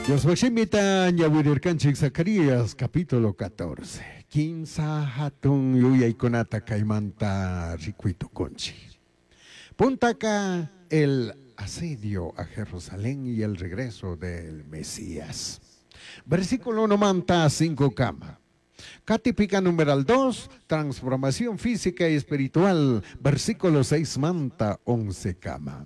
Dios shimita ñawirirkanchik Zacarías capítulo 14. Kinsa hatun yuyaykunata kaymanta rikuytukunchik. Puntaka el asedio a Jerusalén y el regreso del Mesías. Versículo 1 manta 5 kama. Katipika numeral 2, transformación física y espiritual, versículo 6 manta 11 kama.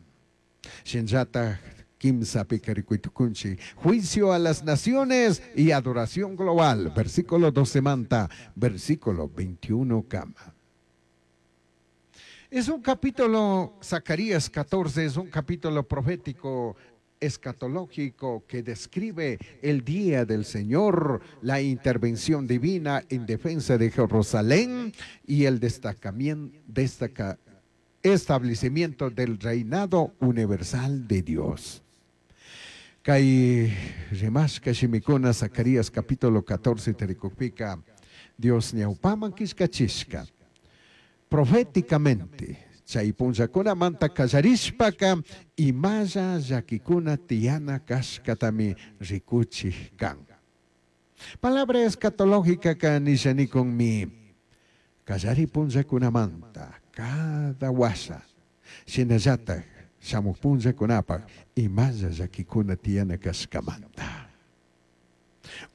Shinllataj kimsapika rikuytukunchik, juicio a las naciones y adoración global, versículo 12 manta, versículo 21 kama. Es un capítulo, Zacarías 14, es un capítulo profético escatológico que describe el día del Señor, la intervención divina en defensa de Jerusalén y el establecimiento del reinado universal de Dios. Kay rimashka shimikuna Zacarías capítulo 14 tarikukpika, Dios ñawpaman killkachishka. Proféticamente, chay punllakunamanta kallarishpaka imalla llakikuna tiyana kashkatami rikuchik kan. Palabra escatológica ka nishanikunmi kallari punllakunamanta cada washa shinallatak shamuj punllakunapak imalla llakikuna tiyana kashkamanta.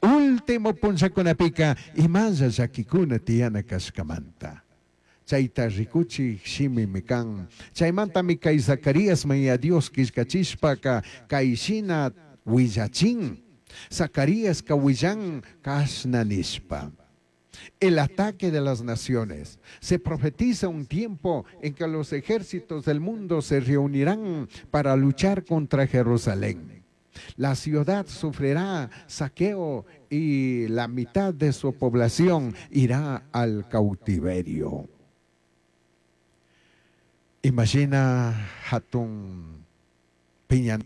Último punllakunapika imalla llakikuna tiyana kashkamanta. Chayta rikuchik shimimi kan. Chaymantami kay Zacarías maya Dios killkachishpaka kay shina willachin. Zacarías ka willan kashna nishpa. El ataque de las naciones. Se profetiza un tiempo en que los ejércitos del mundo se reunirán para luchar contra Jerusalén. La ciudad sufrirá saqueo y la mitad de su población irá al cautiverio. Imagina hatun piña